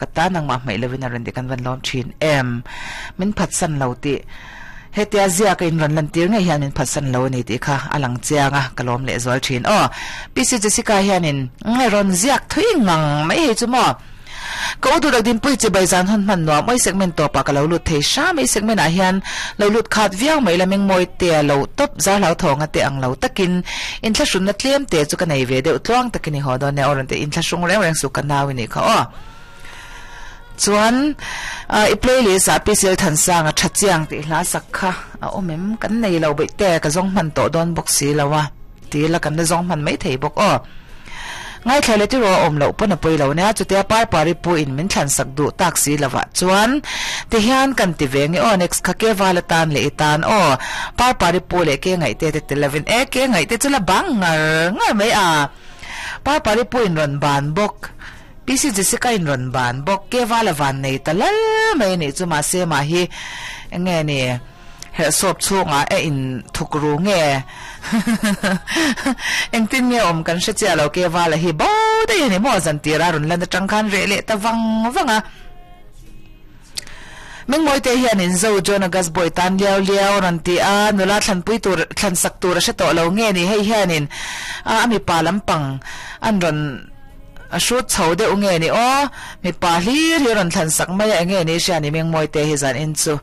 Ka ta nangmah hmaih lovin a rawn ti kan van lawm thin em. Min phatsan lo tih hetia ziak a in rawn lantir ngei hian min phatsan lo a ni tih kha a lang chiang a, ka lawm lehzual thin. Aw, PC Jessica hianin rawn ziak thui ngang mai hei chu maw. Ka u duhdak dinpui chibai zan hawn hman nuam awi segment tawpah ka lo lut thei hram a, i segment ah hian lo lut khat viau mai la mengmawi te a lo tawp zar hlau thawng a te ang lo takin inthlahrunna tlem te chu ka nei ve deuh tluang takin i haw dawn nia aw rawn ti inthlahrung reng reng suh ka nau i nih kha aw. Chuan i playlist ah PCL Thansanga tha chiang tih hla sak kha a awm em? Kan nei lo beih te ka zawng hman tawh dawn bawk si lo a ti la kan la zawng hman mai thei bawk aw. Ngaithla leh tiraw a awm loh pawn a pawi lo nia chutia Parpari pu in min thlan sak duh tak si lovah chuan ti hian kan ti ve nge aw next kha ke val atan leh i tan aw Parpari pu leh ke ngaihte te tel lovin e ke ngaihte chu la bang ngar ngar mai a Parpari pu in rawn ban bawk PC Jessica in rawn ban bawk ke val a van nei ta lal mai a nih chu mahse mah hi enge ni Herhsawp chhungah e in thuk ru nge? Engtin nge awm kan hre chiah lo ke vala hi bo daih a ni maw zan tir a rawn lan atang khan reh leh ta vang vang a. Mengmawite hian in zo John August Boy tan liau liau a rawn ti a, nula thlanpui tur thlan sak tur a hre tawh lo nge ni hei hianin a mipa lampang an rawn a hrut chho deuh nge ni aw mipa hlir hi a rawn thlan sak mai a enge ni hria ni Mengmawite hi zan in chu.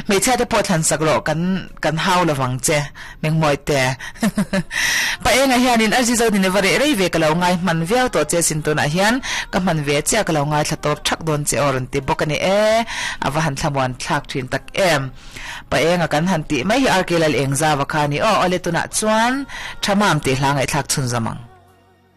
Hmeichhia te pawh thlan sak rawh kan kan hau lo vang che Mengmawi te. Pa enga hianin Arzi zo ni va reh rei ve ka lo ngai hman viau tawh che sin tunah hian ka hman ve chiah ka lo ngaithla tawp thak dawn che aw rawn ti bawk a ni e. A va han thlamuan thlak thin tak em. Pa enga kan han tih mai hi RK Lal Engzava kha a ni aw. Awle tunah chuan Thamam tih hla ngaihthlak chhunzawm ang.